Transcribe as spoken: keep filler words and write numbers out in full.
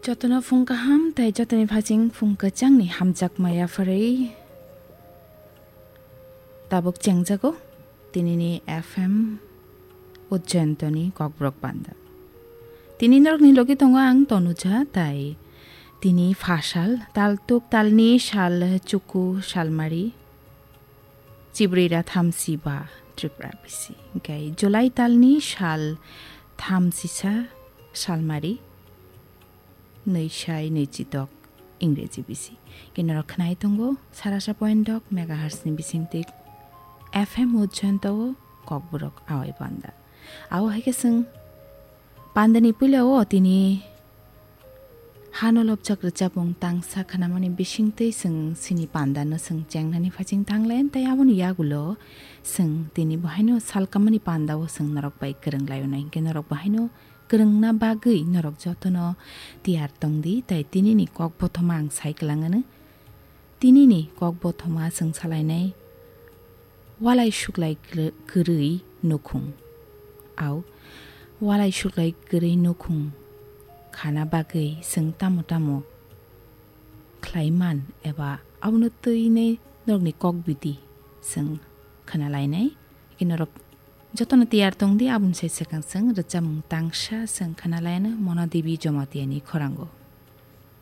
Jotono phung kaham tei jotoni phaching phung kwchangni hamjakma yapharwi tabuk chengjago tinini F M Ujjaintoni Kokborok Panda. Tini norokni logi tongo ang Tonuja, tai tini phasal, taltuk talni sal chuku salmari, chibrira thamsi ba Tripura bisi. Hingke July talni sal thamsisa salmari, nwisai nwichidok Ingreji bisi. Hingke norok khnai tongo sarasa point dok megahertz ni bisingtwi F M Ujjainto o Kokborok Awai Panda. Abo hai khe chwng pandani puila o tini hano lobjak rwchapmung tangsa khnamani bisingtwi chwng chini pandano chwng chengnani phaching thanglai, tei aboni yagulo chwng tini bo haino salkamani pandao chwng norok bai kwrwng laio nai, hingke norok bo haino kwrwngna bagwi norok jotono tiyar tongdi, tei tinini kok bothoma ang sai kwlangano. Tinini kok bothoma chwng salainai walai suklai kwrwi nukhung. Au, walai suklai kwrwi nukhung khana bagwi chwng tamo tamo khlai man eba abono twinai norokni kok biti chwng khna lainai. Hingke norok jotono tiyar tongdi, aboni sai swkang chwng rwchapmung tangsa chwng khna lainai Mona Devi Jomatiani khorango.